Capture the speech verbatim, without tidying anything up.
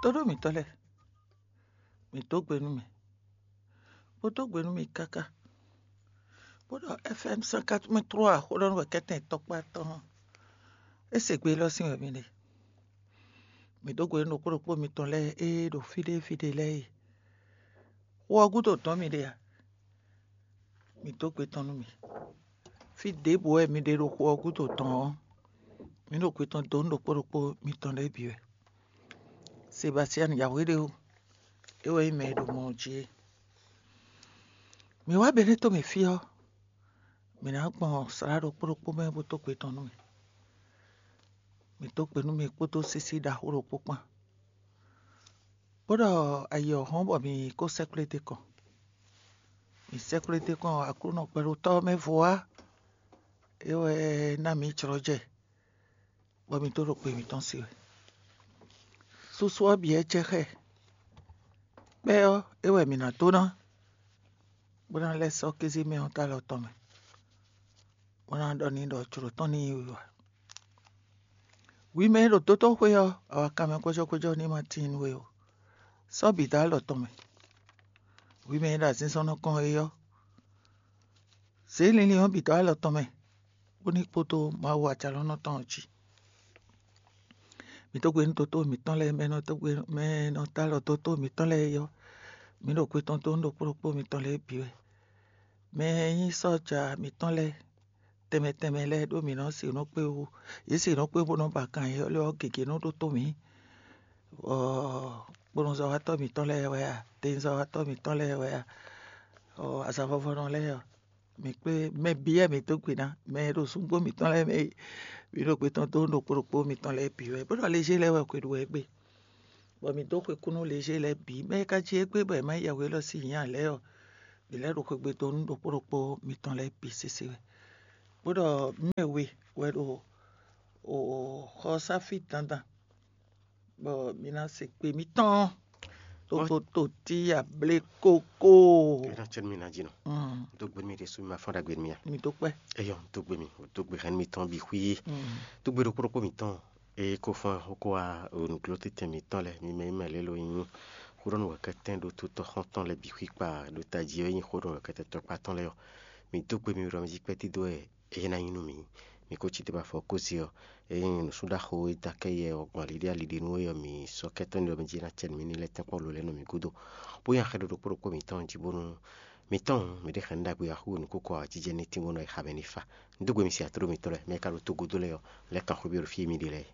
Tóɖó mǐtɔn lɛ́ɛ, mǐ dó gbe nú mì, bó dó gbe nú mì káká, bó ɖɔ F M cent quatre-vingt-trois xó ɖɔ nú wɛ kɛ́tɛn tɔkpá tɔn. É se gbe élɔ́ sín wɛ mi ɖe. Mǐ dó gbe nú ɖokpó ɖokpó mitɔn lɛ́ɛ e ɖo fí ɖé fí ɖé lɛ́ɛ e. Xó ɔ́ gúdo dɔn mi ɖe a? Mǐ dó gbe tɔn nú mì. Fí ɖěbǔ wɛ mi ɖe ɖo xó ɔ́ gúdo dɔn ɔ́, mǐ ɖo gbe tɔn dó nú ɖokpó ɖokpó mitɔn lɛ́ɛ bǐ wɛ. Sebastian Yawéɖéwu, é wɛ nyí mɛ e ɖo mɔ ɔ́ jí é. Mǐ wá Benɛ́to mɛ fí ɔ́, mǐ ná gbɔn slá ɖokpó ɖokpó mɛ bó dó gbe tɔn nú mì. Mǐ dó gbe nú mì kpódó sísí ɖaxó ɖokpó kpán, bó ɖɔ ayǐ ɔ́ hɔ́n bɔ mǐ kó sɛ́kplé d'é kɔn. Mǐ sɛ́kplé d'é kɔn Aklúnɔ gbɛɖotɔ́ ɔ́ mɛ vo wá, é wɛ ná mǐ jlɔ́ jɛ, bɔ mǐ dó ɖo gbe mǐtɔn se wɛ. Susu ɔ́ bǐ wɛ jɛ xá ɛ. Kpɛ́ ɔ́, é wɛ mǐ ná dó ná, bó ná lɛ́ sɔ́ kézí mɛ ɔ́ dó alɔ tɔn mɛ, bó ná ɖɔ n'i ɖɔ jlǒ tɔn ní yi wǐwá. Hwi mɛ e ɖo dotóxwé ɔ́, awakanmɛ kwɛ́jɔ́kwɛ́jɔ́ ní ma tíin nú we ó. Sɔ́ bǐ dó alɔ tɔn mɛ. Hwi mɛ e ɖo azinzɔnnɔ kɔn é ɔ́, zě linlin ɔ́ bǐ dó alɔ tɔn mɛ, bó ní kpódó Mawu Ajalɔ̌nlɔn tɔn ɔ́ jí. Mǐ dó gbe nú dotó mǐtɔn lɛ́ɛ, mɛ e nɔ dó gbe, mɛ e nɔ dó alɔ dotó mǐtɔn lɛ́ɛ é ɔ́, mǐ ɖo gbe tɔn dó nú ɖokpó ɖokpó mitɔn lɛ́ɛ bǐ wɛ. Mɛ e nyí sɔ́ja mǐtɔn lɛ́ɛ tɛnmɛ tɛnmɛ lɛ́ɛ ɖó mǐ nɔ se nǔ kpé wú. Yě se nǔ kpé bó nɔ́ ba kan yě lɛ́ɛ ɔ́ gěgé nɔ ɖótó mǐ. Ɔ́, kponɔzɔ́watɔ́ mǐtɔn lɛ́ɛ wɛ a? Tenzɔ́watɔ́ mǐtɔn lɛ́ɛ wɛ a? Ɔ́, azǎn vɔvɔnɔ lɛ́ɛ ɔ́, mǐ kpé mɛ bǐ wɛ mǐ dó gbe ná, mɛ e ɖo zungbó mǐtɔn lɛ́ɛ mɛ e mǐ ɖo gbe tɔn dó ɖokpó ɖokpó mitɔn lɛ́ɛ bǐ wɛ, bó ɖɔ lejé lɛ́ɛ wɛ xwe ɖu wɛ gbé, bɔ mǐ dó xwe kú nú lejé lɛ́ɛ bǐ. Mɛ e ka jí égbé bɔ è má yi yɛhwe élɔ́ sín nya lɛ́ɛ ɔ́, mǐ lɛ́ ɖo xwegbe dó nú ɖokpó ɖokpó mitɔn lɛ́ɛ bǐ sésé wɛ, bó ɖɔ mɛ we wɛ ɖo xɔsáfí dandan, bɔ mi ná se gbe mitɔn. Togoto tí ablé kókó. Ena cɛ mi na dzi nɔ. Mm. Do gbe mi ɖe su mi ma fɔn ɖagbe mi ya. Mi tó kpɛ. Eyɔ do gbe mi, do gbe hɛn mi tɔn bi xwi. Mm. Do gbe ɖokpó ɖokpó mi tɔn. Eye ko fɔn xoko wa onuklo tete mi tɔn lɛ mi mɛ mɛ lelo yin. Xodɔnu wɛkɛtɛn ɖo tutɔ xɔntɔn lɛ bi xwi kpa ɖo taji yin xodɔnu wɛkɛtɛn tɔkpa tɔn lɛ yɔ. Mi do gbe mi ɖɔ mi zi kpɛ ti do ɛ eye na yin nú mi. Mi ko ci te ba fɔ ko zi ɔ. Eye nusúɖaxo e da kɛ yɛ ɔgbɔn aliɖe aliɖe nú ɔ́, mi sɔ́ kɛ́tɔ́ ní ɔ́, mi jí ná cɛ nǔ mi ní lɛ́ tɛ́nkpɔ́n lolɛ́ nú mi gúdo, bó nyi axɛ ɖo ɖokpó ɖokpó mǐtɔn jí bónú mǐtɔn mǐ ɖe xɛn ɖagbe axú nǔkókó awǎjijɛ ní tín bónú ayixa mɛ ní fa. Un dó gbe mi si atló mitɔn lɛ́ɛ, mɛ e ka ɖo togodó lɛ́ɛ ɔ́, lɛ́ kan xwé byɔ́ ɖo fí e mi ɖe lɛ́ɛ.